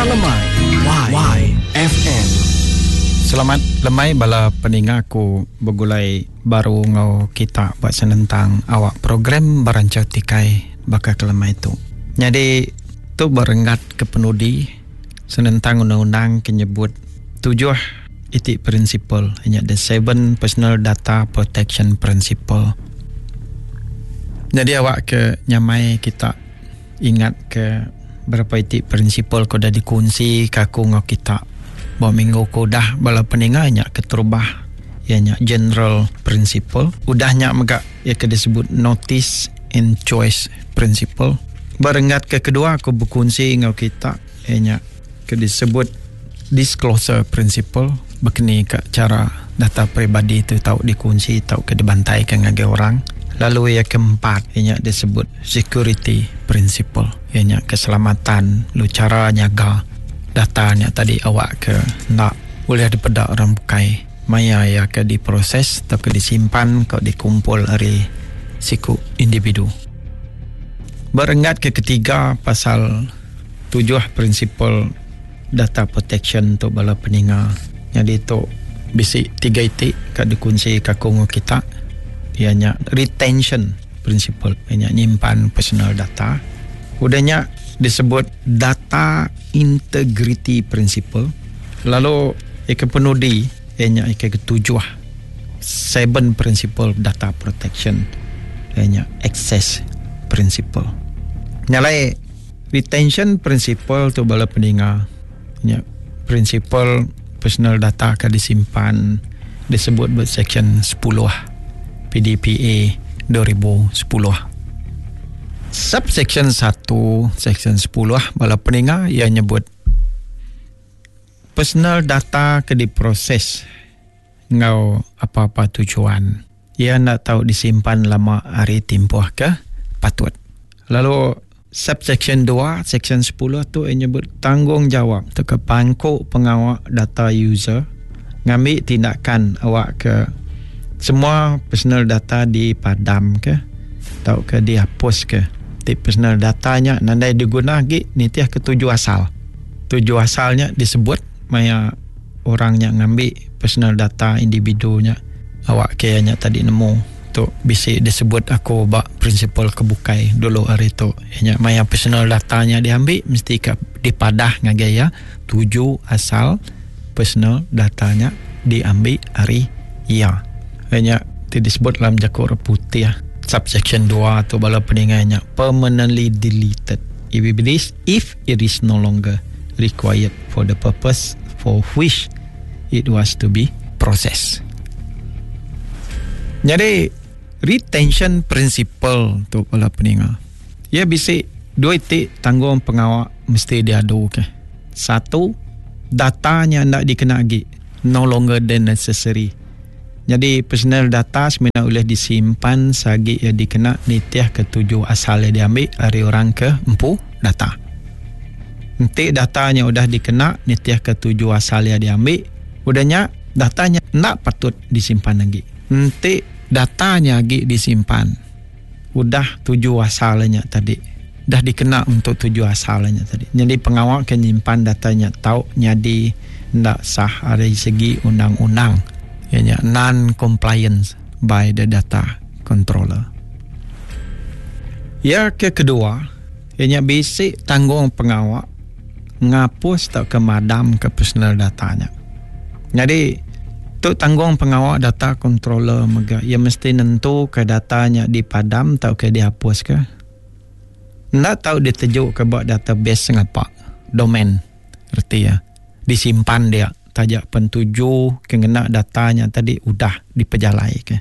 Berita Lemai YFM. Selamat lemai bala peninga aku begulai baru enggau kita ba senentang awak program Beranchau Tikai baka ke lemai tu. Nyadi tu ba renggat ke penudi senentang undang-undang ke nyebut tujuh iti prinsipal nya the seven personal data protection principle. Nyadi awak ke nyamai kita ingat ke berapa iti prinsipal ke udah dikunsi ke aku enggau kita ba minggu ke udah bala peninga nya keterubah iya nya general principle. Udah nya mega iya ke disebut notice and choice principle. Ba renggat ke kedua aku bekunsi enggau kita iya nya ke disebut disclosure principle bekeni ka chara data peribadi tu tau dikunsi tauka dibantaika ngagai orang. Lalu iya ke empat iya nya disebut security principle iya nya keselamatan lalu chara nyaga data nya tadi awak ke enda ulih dipeda orang bukai maya iya ke diproses tauka disimpan ka dikumpul ari siku individu. Ba renggat ke ketiga pasal tujuh prinsipal data protection tu bala peninga. Nyadi tu bisi tiga iti ka dikunsi ka aku enggau kita iya nya retention principle iya nya nyimpan personal data. Udah nya disebut data integrity principle lalu iya ke penudi iya nya iya ke tujuh seven principle data protection iya nya access principle. Nya alai Retention principle tu bala peninga nya prinsipal personal data ke disimpan disebut ba seksyen sepuluh PDPA 2010. Subseksyen satu seksyen sepuluh bala peninga iya nyebut personal data ke diproses enggau apa-apa tujuan. Iya enda tau disimpan lama ari timpuh ke patut. Lalu subseksyen dua seksyen sepuluh tu iya nyebut tanggungjawab tauka pangku pengawa data user ngambi tindakan awakka semua personal data dipadamka tauka diapuska. Ti personal data nya nadai diguna agi nitihka tuju asal. Tuju asal nya disebut maya orang nya ngambi personal data individu nya awak ke iya nya tadi nemu tu bisi disebut aku ba prinsipal ke bukai dulu ari tu iya nya maya personal data nya diambi mesti ka dipadah ngagai iya tuju asal personal data nya diambi ari iya. Iya nya ti disebut dalam jaku orang putih subsection dua tu bala peninga nya permanently deleted if it is if it is no longer required for the purpose for which it was to be processed. Nyadi retention principle tu bala peninga. Iya bisi dua iti tanggung pengawa mesti diadu ke. Satu, data nya enda dikena agi, no longer than necessary. Nyadi personal data semina ulih disimpan seagi iya dikena nitihka tuju asal iya diambi ari orang ke empu data. Enti data nya udah dikena nitihka tuju asal iya diambi, udah nya data nya enda patut disimpan agi. Enti data nya agi disimpan, udah tuju asal iya nya tadi dah dikena untuk tuju asal iya nya tadi. Nyadi pengawa ke nyimpan data nya tau nyadi enda sah ari segi undang-undang iya nya non compliance by the data controller. Iya ke kedua iya nya bisi tanggung pengawa ngapus tauka madamka personal data nya. Nyadi tu tanggung pengawa data controller mega iya mesti nentuka data nya dipadam tauka diapuska. Enda tau ditejuka ba database sengapa, domain, reti iya disimpan dia taja pen tuju ke ngena data nya tadi udah dipejalaika.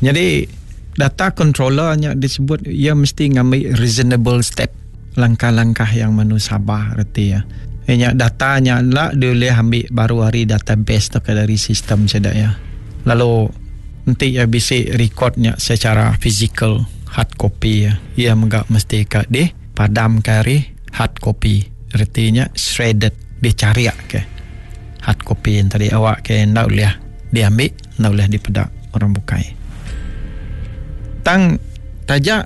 Nyadi data controller nya disebut iya mesti ngambi reasonable step, langkah-langkah yang manusabah reti iya. Iya nya data nya enda diulih ambi baru ari database tauka dari sistem sida iya. Lalu enti iya bisi record nya secara fizikal hard copy iya, iya mega mesti ka dipadamka ari hard copy reti nya shredded dicharik ke hard copy nya tadi awak ke enda ulih diambi. Enda ulih dipeda orang bukai. Tang taja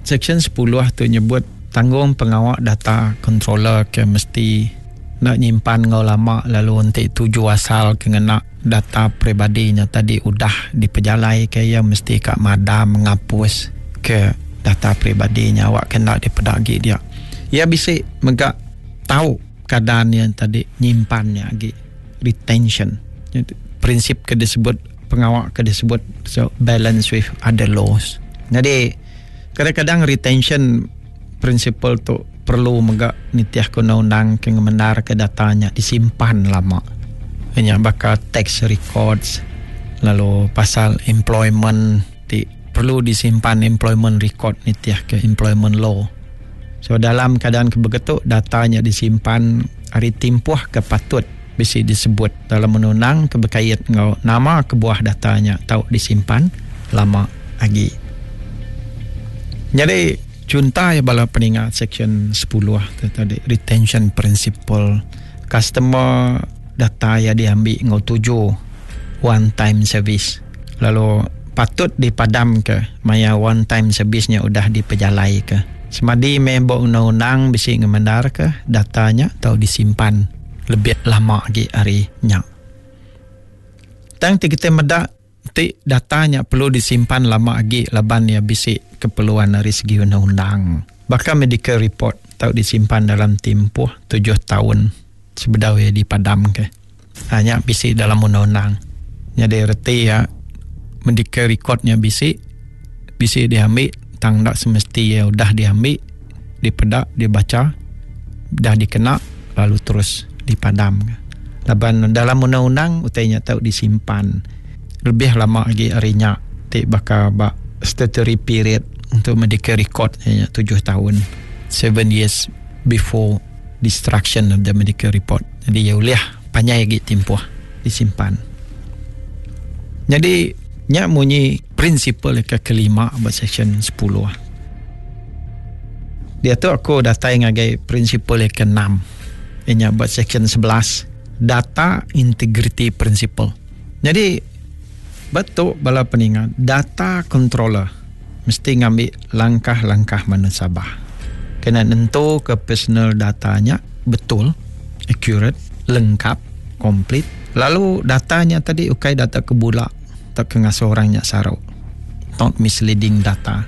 Seksyen sepuluh tu nyebut. Tanggung pengawa data controller ke mesti enda nyimpan enggau lama lalu enti tuju asal ke ngena data peribadi nya tadi udah dipejalaika iya mesti ka madam ngapus ke data peribadi nya awak ke enda dipeda agi dia. Iya bisi mega tau keadaan iya tadi nyimpan nya agi retention. Prinsip ke disebut pengawa ke disebut so balance with other laws. Nyadi kadang-kadang retention principle tu perlu mega nitih ke undang-undang ke ngemendar ke data nya disimpan lama. Nya baka tax records lalu pasal employment ti perlu disimpan employment record nitih ke employment law. So dalam keadaan ke begitu data nya disimpan ari timpuh ke patut bisi disebut dalam undang-undang ke bekait enggau nama kebuah data nya tau disimpan lama agi. Nyadi chuntai bala peninga seksyen sepuluh tu tadi retention principle customer data iya diambi enggau tuju one time service lalu patut dipadamka maya one time service nya udah dipejalaika. Semadi meh ba undang-undang bisi ngemendarka data nya tau disimpan lebih lama agi ari nya. Tang ti kitai meda ti data nya perlu disimpan lama agi laban iya bisi keperluan ari segi undang-undang. Baka medical report tau disimpan dalam timpuh tujuh taun sebedau iya dipadamka. Ha nya bisi dalam undang-undang. Nyadi reti iya medical record nya bisi, bisi diambi tang enda semesti iya udah diambi, dipeda, dibacha, udah dikena lalu terus dipadam. Laban dalam undang-undang utai nya tau disimpan lebih lama agi ari nya ti baka ba statutory period untuk medical record iya nya tujuh taun, seven years before destruction of the medical report. Nyadi iya ulih panjai agi timpuh disimpan. Nyadi nya munyi prinsipal ke kelima ba seksyen sepuluh. Diatu aku datai ngagai prinsipal ke enam iya nya ba seksyen 11 data integrity principle. Nyadi ba tu bala peninga data controller mesti ngambi langkah-langkah manusabah kena nentuka personal data nya betul, accurate, lengkap, complete lalu data nya tadi ukai data ke bula tauka ngasuh orang nya saru, not misleading data.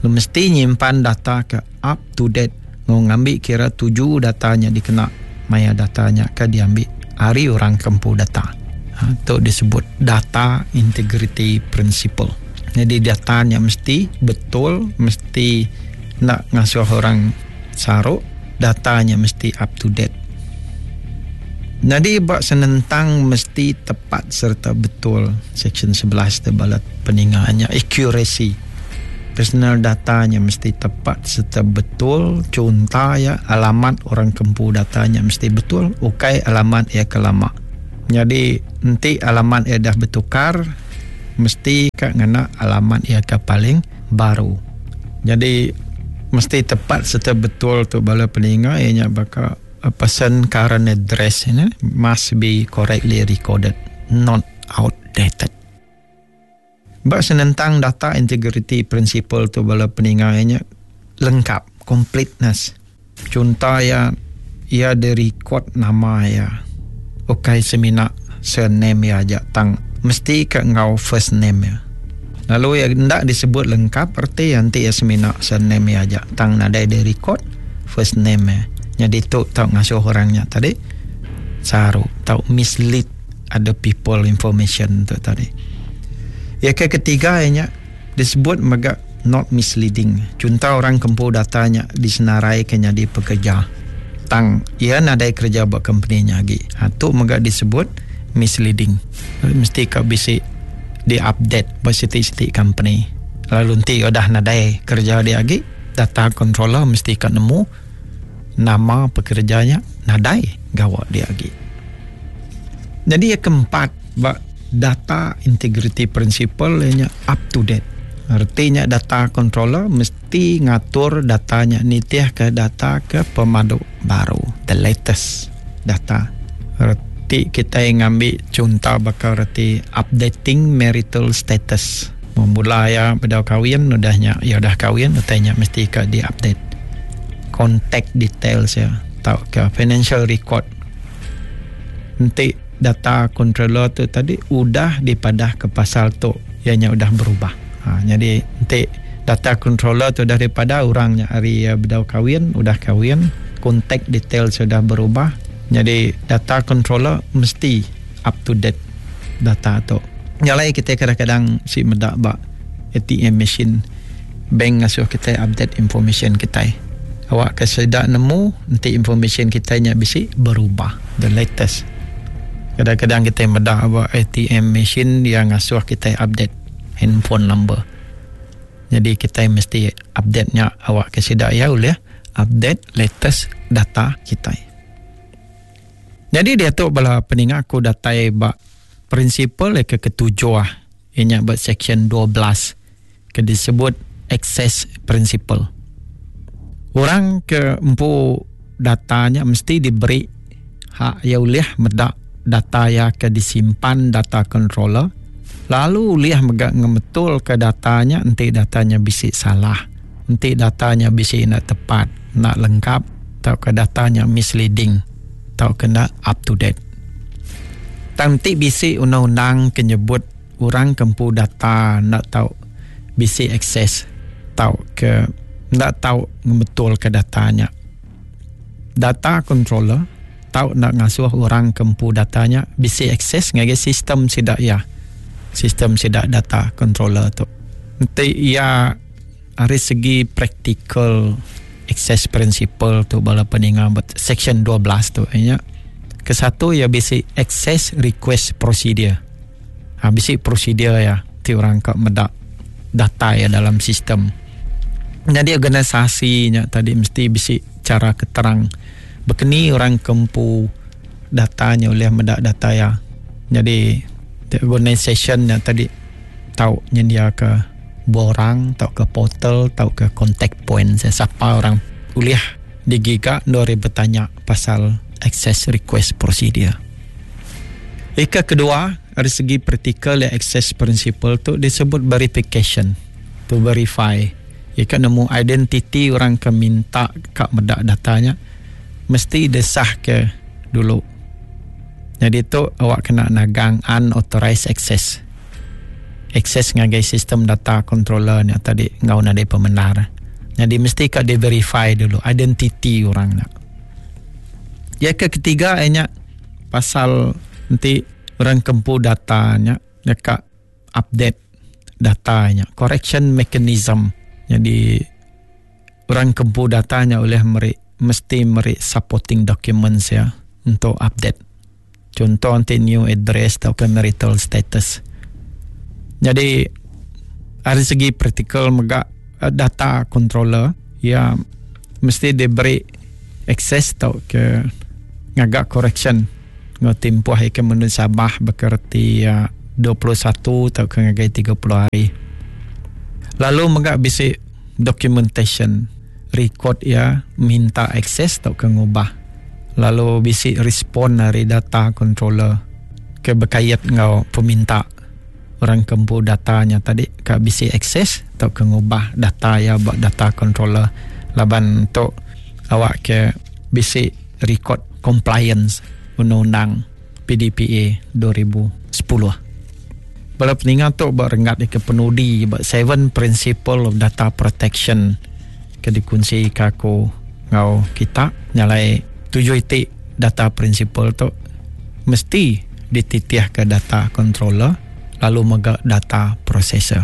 Lalu mesti nyimpan data ke up to date enggau ngambi kira tuju data nya dikena maya data nya ke diambi ari orang ke empu data. Ha, tu disebut data integrity principle. Nyadi data nya mesti betul, mesti enda ngasuh orang saru, data nya mesti up to date. Nyadi ba senentang mesti tepat sereta betul seksyen 11 tu bala peninga nya accuracy. Personal data nya mesti tepat sereta betul chunta iya alamat orang ke empu data nya mesti betul ukai alamat iya ke lama. Nyadi enti alamat iya dah betukar mesti ka ngena alamat iya ke paling baru. Nyadi mesti tepat sereta betul tu bala peninga iya nya baka a person current address nya must be correctly recorded not outdated. Ba senentang data integrity principle tu bala peninga iya nya lengkap, completeness. Chunto iya, iya direkod nama iya ukai semina surname iya aja tang mesti ka enggau first name iya. Lalu iya enda disebut lengkap reti iya enti iya semina surname iya aja tang nadai direkod first name iya. Nyadi tu tau ngasuh orang nya tadi saru tau mislead other people information tu tadi. Iya ke ketiga iya nya disebut mega not misleading. Chunto orang ke empu data nya disenaraika nyadi pekerja tang iya nadai kereja ba kompeni nya agi. Ha tu mega disebut misleading. Mesti ka bisi di update ba siti-siti kompeni. Lalu enti udah nadai kereja dia agi, data controller mesti ka nemu nama pekereja nya nadai gawa dia agi. Nyadi iya keempat ba data integrity principle iya nya up to date. Reti nya data controller mesti ngatur data nya nitihka data ke pemadu baru, the latest data. Reti kitai ngambi chunto baka reti updating marital status. Mula iya bedau kawin udah nya iya udah kawin utai nya mesti ka di update. Contact details iya tauka financial record. Enti data controller tu tadi udah dipadah ke pasal tu iya nya udah berubah. Ha, nyadi enti data controller tu udah dipadah orang nya ari iya bedau kawin udah kawin, contact details udah berubah, nyadi data controller mesti up to date data tu. Nya alai kitai kadang-kadang si meda ba ATM machine bank ngasuh kitai update information kitai. Awakka sida nemu enti information kitai nya bisi berubah the latest. Kadang-kadang kitai meda ba ATM machine iya ngasuh kitai update handphone number. Nyadi kitai mesti update nya awakka sida iya ulih update latest data kitai. Nyadi diatu bala peninga aku datai ba prinsipal iya ke ketujuh iya nya ba seksyen 12 ke disebut access principle. Orang ke empu data nya mesti diberi hak iya ulih meda data iya ke disimpan data controller lalu ulih mega ngemetulka data nya enti data nya bisi salah, enti data nya bisi enda tepat, enda lengkap tauka data nya misleading tauka enda up to date. Tang enti bisi undang-undang ke nyebut orang ke empu data enda tau bisi akses tauka enda tau ngemetulka data nya. Data controller tau enda ngasuh orang ke empu data nya bisi akses ngagai sistem sida iya. Sistem sida data controller tu. Enti iya ari segi praktikal access principle tu bala peninga ba section 12 tu iya nya kesatu iya bisi access request procedure. Ha bisi prosedur iya ti orang ka meda data iya dalam sistem. Nyadi organisasi nya tadi mesti bisi chara ke terang bekeni orang ke empu data nya ulih meda data iya. Nyadi organisation nya tadi tau nyendiaka borang tauka portal tauka contact point sapa orang ulih digiga endur iya betanya pasal access request procedure. Ika kedua ari segi praktikal iya access principle tu disebut verification to verify ika nemu identiti orang ke minta ka meda data nya mesti desah ke dulu. Nyadi tu awak kena nagang unauthorized access. Access ngagai sistem data controller nya tadi enggau nadai pemendar. Nyadi mesti ka di verify dulu identiti orang nya. Iya ke ketiga iya nya pasal enti orang ke empu data nya deka update data nya correction mechanism nyadi orang ke empu data nya ulih meri mesti meri supporting documents iya untuk update chunto enti new address tauka marital status nyadi ari segi praktikal mega data controller iya mesti diberi access tauka ngaga correction enggau timpuh iya ke menu Sabah baka reti iya 21 tauka ngagai 30 hari. Lalu mega bisi documentation record iya minta akses tauka ngubah lalu bisi respon ari data controller ke bekait enggau peminta orang ke empu data nya tadi ka bisi akses tauka ngubah data iya ba data controller laban tu awak ke bisi record compliance undang-undang PDPA 2010. Bala peninga tu ba renggat ke penudi ba seven principle of data protection ke dikunsi ka aku enggau kita nyalai tujuh iti data principle tu mesti dititihka data controller lalu mega data processor.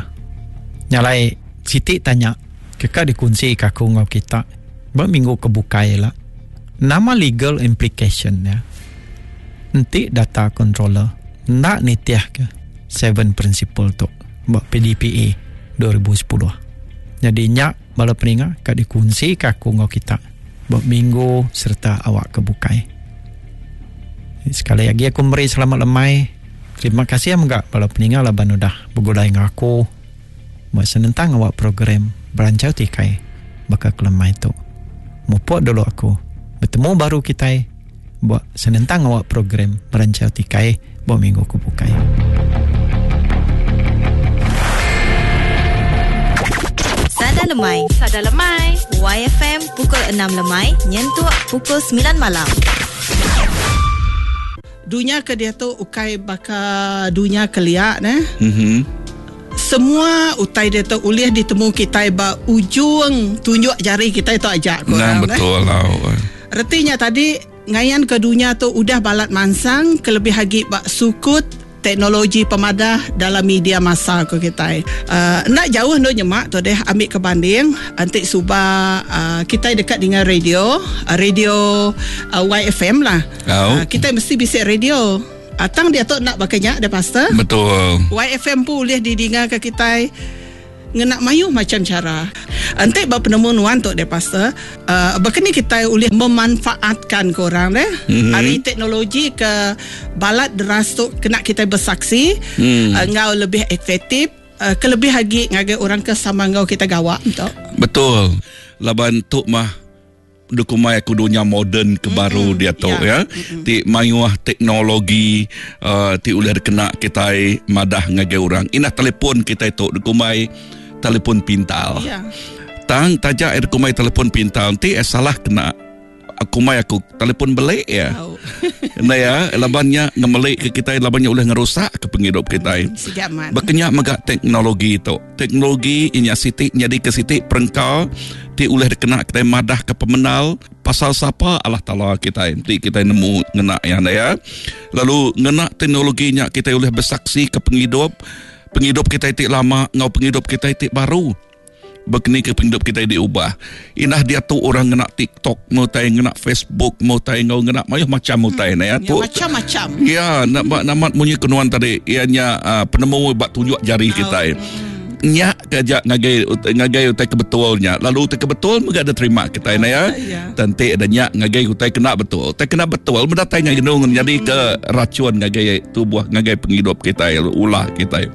Nyalai siti tanya ke ka dikunsi ka aku enggau kita ba minggu ke bukai ila. Nama legal implication nya enti data controller enda nitihka seven principle tu ba PDPA 2010. Nyadi nya bala peninga ka dikunsika aku enggau kita ba minggu sereta awak ke bukai. Sekali agi aku meri selamat lemai. Terima kasih mega bala peninga laban udah begulai enggau aku ba senentang awak program Beranchau Tikai baka ke lemai tu. Mupuk dulu aku. Betemu baru kitai ba senentang awak program Beranchau Tikai ba minggu ke bukai. Sada Lemai. Sada Lemai. YFM pukul 6 lemai nyentuk pukul 9 malam. Dunya ke diatu ukai baka dunya kelia neh. Mhm. Semua utai diatu ulih ditemu kitai ba ujung tunjuk jari kitai tu aja ku Nang orang neh. betul lau. Reti nya tadi ngayanka dunya tu udah balat mansang kelebih agi ba sukut teknologi pemadah dalam media massa ku kitai. Uh, enda jauh endur nyema tu deh ambi ke banding enti suba uh, kitai deka ninga radio, radio uh, YFM lah. Au. Kitai mesti bisi radio. Tang diatu enda baka nya deh pastor. Betul. YFM pun ulih didinga ke kitai ngena mayuh macam cara. Enti ba penemu nuan tu deh pastor, baka ni kitai ulih memanfaatkan ke orang deh Mhm. ari teknologi ke balat deras tu kena kitai bersaksi enggau lebih efektif kelebih agi ngagai orang ke sama enggau kita gawa tu. Betul. Laban tu mah dukumai aku dunia moden ke baru dia tu ya. Ti mayuh teknologi ti ulih dikena kitai madah ngagai orang. Inah telefon kitai tu dukumai telefon pintar. Ya. Tang taja air kumai telefon pintar ti salah kena aku mai aku telefon belik ya. Au. Nah ya, labannya ngemelik ke kitai labannya ulih ngerusak ke penghidup kitai. Siga amat. Bekenya mega teknologi tu. Teknologi inya siti nyadi ke siti perengka ti ulih dikena kitai madah ke pemenal pasal sapa Allah Taala kitai ti kitai nemu ngena ya ya. Lalu ngena teknologi nya kitai ulih bersaksi ke penghidup penghidup kitai ti lama ngau penghidup kitai ti baru. Bekeni ke penghidup kitai diubah. Inah dia tu orang ngena TikTok, mau tai ngena Facebook, mau tai ngau ngena mayuh macam utai na ya. Ya, Tu macam-macam. Ya, nak namat munyi kenuan tadi ianya penemu bak tunjuk jari kitai. Nyak kerja ngagai ngagai utai kebetulnya. Lalu utai kebetul mega ada terima kitai na ya. Ya. Tentik ada nyak ngagai utai kena betul. Utai kena betul mendatai ngagai nung jadi ke racun ngagai tubuh ngagai penghidup kitai ulah kitai.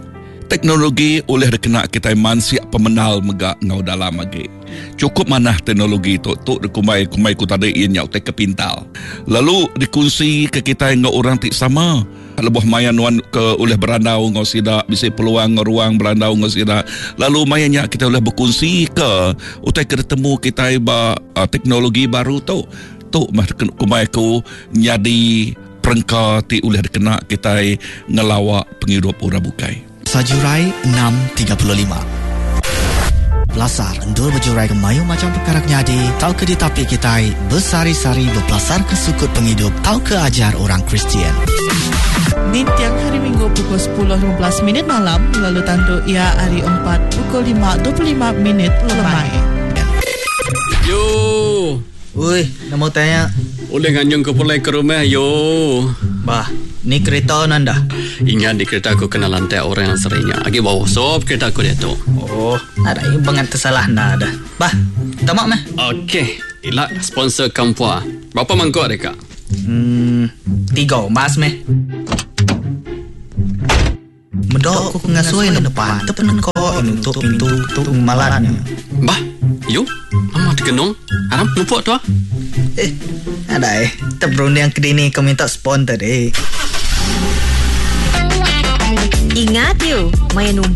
Teknologi oleh dikena kitai mansiak pemenal mega ngau dalam agi. Cukup manah teknologi tu tu dikumbai kumbai ku tadi ianya utai kepintal. Lalu dikongsi ke kitai ngau orang ti sama. Lebuh maya nuan ke ulih berandau ngau sida bisi peluang ngau ruang berandau ngau sida. Lalu maya nya kita ulih berkongsi ke utai ke ditemu kitai ba teknologi baru tu. Tu mah kumbai aku nyadi perengka ti ulih dikena kitai ngelawak penghidup orang bukai. Sajurai 6.35. Pelasar endur berjurai ke mayu macam perkara nyadi tau ke ditapi kitai bersari-sari berpelasar ke sukut penghidup tau ke ajar orang Kristian. Ni tiang hari Minggu pukul 10.15 minit malam lalu tanduk ia hari 4 pukul 5.25 minit lemai. Yo. Ui, nama tanya. Oleh nganjung ke pulai ke rumah yo. Bah, ni kereta nanda. Ingat di kereta aku kena lantai orang yang seringnya. Agi bau sop kereta aku dia tu. Oh, ada yang bangat tersalah nda ada. Bah, tamak meh. Okey, ilak sponsor kampua. Berapa mangkuk deka? 3 emas meh. Medok aku ngasui na depan. Tepen ko nutup pintu tu malatnya. Bah, yo, mama terkenung. Haram numpuk tu ah. Ada eh. Terberunding ke dini kau minta sponsor tadi. Ingat you, main.